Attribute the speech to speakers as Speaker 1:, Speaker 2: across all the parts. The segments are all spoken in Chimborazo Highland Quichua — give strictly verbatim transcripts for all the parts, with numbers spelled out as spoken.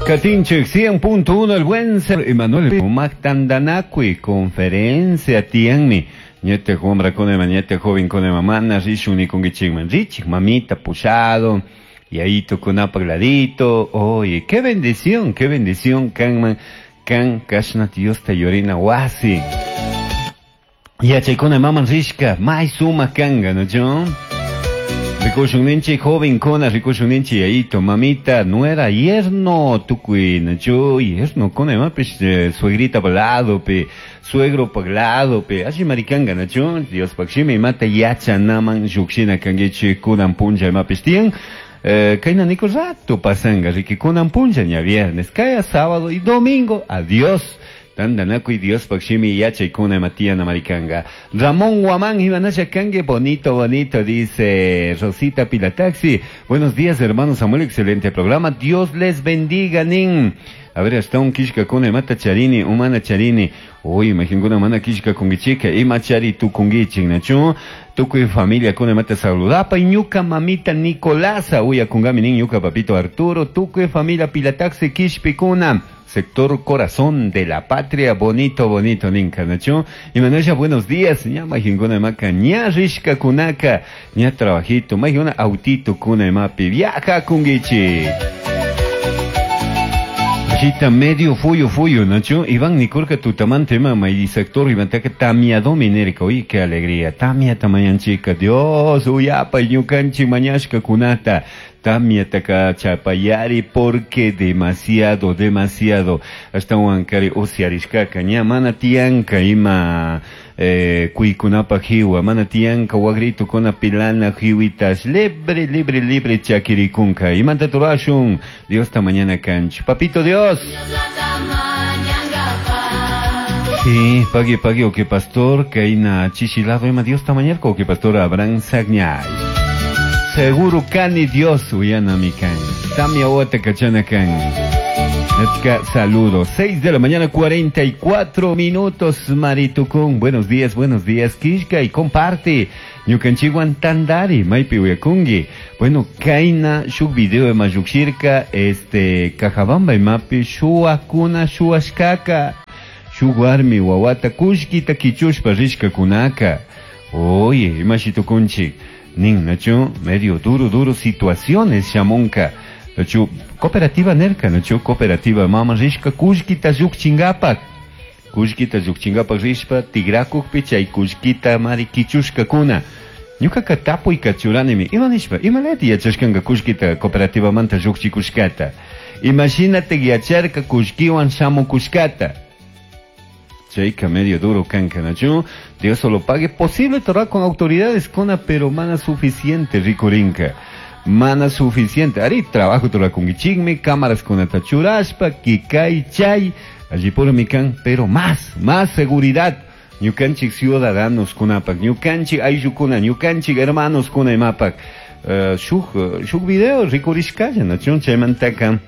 Speaker 1: Katinchik cien punto uno el buen ser Emanuel Mactandanacui conferencia tianmi ñete hombra con ñete joven con mamá rishun ni con gichigman richik mamita pushado y ahí tocó ladito. Oye, qué bendición, qué bendición kanman kan kashna Dios te yorina wasi yachaykuna maman rishka may suma kanga no yo Rikushun ninchi joven kona, rikushun ninchi yaito, mamita, nuera, yerno, tukuy, nacho, yerno, kona, imapish, eh, suegrita palado, pe, suegro paglado, pe, así maricanga, nacho, Dios pakshimi, mata yacha naman, yukshina kangichi, kunan punja, imapish tian, eh, kaina niko rato pasanga, riki kunan punja, ña viernes, kaya sábado y domingo, adiós. Tandanaku y Dios pakshimi yachaykuna matiana maricanga. Ramón Guamán Ibanasha Kangue, bonito, bonito, dice Rosita Pilataxi. Buenos días, hermano Samuel, excelente programa. Dios les bendiga, nin. A ver, hasta un kishka con mata charini, humana charini. Uy, imagino una mana kishka con gichika, ima chari tu con gichin, nacho. Tuku familia con mata saludapa, y ñuka mamita Nicolasa, uy, akungami nin, ñuka papito Arturo, tuku familia Pilataxi kishpikuna. Sector Corazón de la Patria, bonito, bonito, ninka, nacho. Y Manuela, buenos días, ña majingona maca, ña rishka kunaka, ña trabajito, majingona autito kuna mapi, viaja kungichi. Ashita medio fuyo fuyo, nacho. Iván Nicolca tutamante mama y sector Iván taka tamia dominerika, uy, qué alegría, tamia tamayanchica, Dios, uyapa, ñukanchi mañashka kunata. Tamia taka chapayari porque demasiado, demasiado. Hasta huancari usiarishkaka, ña mana tianka ima eh, kuikunapa jiwa, mana tianka wagrito kona pilana jiwitas, libre, libre, libre chakirikunka. Imanta turashun, Dios ta mañana canch. Papito Dios. Sí, pague, pague, o que pastor, kaina chichilado, ima Dios ta mañana, o que pastor Abraham Sagñay. Seguro cani Dios uyana mi can. Tamia ote cachana can. Netka saludo. Seis de la mañana, cuarenta y cuatro minutos, Maritucún. Buenos días, buenos días, Kishka, y comparte. Ñukanchiwan tandari, maipi uyakungi. Bueno, kaina, shuk video de mayukshirka, este, Cajabamba y mapi, shuakuna, shuashkaka. Shuwarmi, wawata, kushkita, kichushpa, rishka kunaka. Oye, imashitukunchik. Nin, nacho, medio duro, duro situaciones, shamonka. Nacho, cooperativa nerka, nacho, cooperativa mama rishka, kushkita yukchingapak. Kushkita yukchingapak rishpa, tigrakukpi, chay kushkita mari kichushka kuna. Ñukaka tapuy kachuranimi, ima nishpa, ima leti yachashkanga kushkita cooperativa manta yukchikushkata. Imagínate yacharka kushkiwan shamukushkata. Chayka medio duro kanka, nacho. Dios solo pague. Posible torra con autoridades cona, pero mana suficiente, ricorinca. Mana suficiente. Ari trabajo torra con guichigme, cámaras con atachuraspa, kikai chay, allí por mi can, pero más, más seguridad. Ñukanchik ciudadanos kunapak, ñukanchik ayllukuna, ñukanchik hermanos kuna imapak. Uh, shuk, shuk video rikurishkalla, nacho, chaymantaka,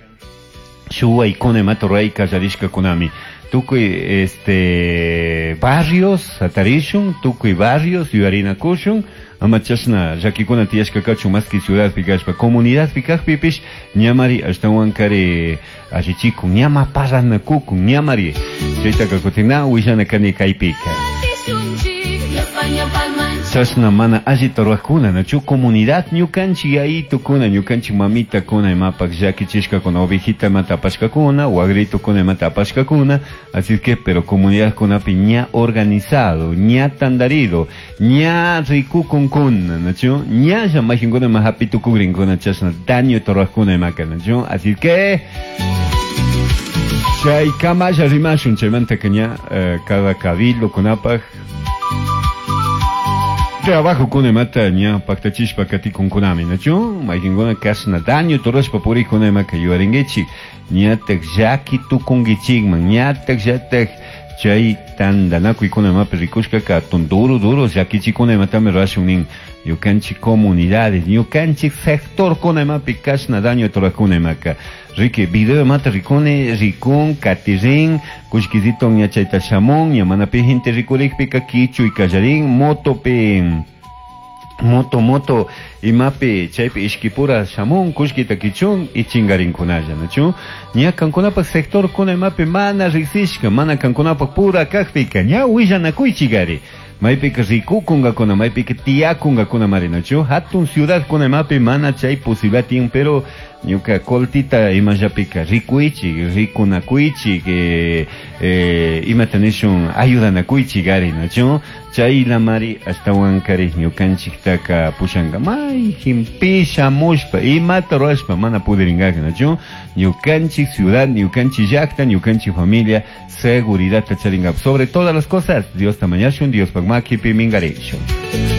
Speaker 1: shuway kuna imato rayka yarishka kunami. Tukuy este barrios atarishun, tukuy barrios yuarinakushun, amachashna llakikuna tiyashka kachun maski ciudad pikashpa, comunidad pikajpipish, ñamari ashtawan kari allichikun, ñama parranakukun, ñamari chaytaka kutin willana kani kaypika. Chashna mana allita ruwajkuna, nachu comunidad ñukanchik yayitukuna, ñukanchik mamita kuna imapak llakichishkakuna, ovejita imata apashkakuna, wagritukuna imata apashkakuna, así que, pero comunidad kunapi ña organizado, ña tandarido, ña rikukunkuna, nachu, ña llamajinkuna ima hapitukugrinkuna, chashna daño ruwajkuna imaka, nachu, así que chay kamalla rimashun, chaymanta que ña eh, cada cabildo kunapaj trabajo con mata ña paktachishpa katikun kunami nachu maykinkuna kashna daño torashpa purikuna imaka yuarinkichik ñatak llaki tukunkichikman ñatak llatak chay tantanakuykuna imapi rikushkaka atun duro duro llakichikuna imatami rurashun nin ñukanchik comunidades ñukanchik sector kuna imapi kashna daño torajkuna imaka Rique video mata rikune rikun katirin kushkisito ña chayta shamun ña mana pi gente rikurikpika kichuy kallarin motopi Moto moto imapi chaypi ishkipura shamun kullkita kichun y chingarinkunalla, nachu? Ña kankunapak sector kuna imapi mana riksishka, mana kankunapak pura kakpika ña willanakuychikari. Maypika rikukunkakuna, maypika tiyakunkakuna mari, nachu? Hatun ciudad kuna imapi mana chay posibilidad, pero ñuka coltita imallapika rikuychik, rikunakuychik, eh, eh, imata nishun ayudanakuychik ari, nachu? Chay lamari ashtawan kari ñukanchiktaka pushanka mayjinpi shamushpa imata rurashpa mana pudiringaka, nachu? Ñukanchik ciudad, ñukanchik llakta, ñukanchik familia seguridad charingap. Sobre todas las cosas, Dios mañashun, Dios makipi mingarishun.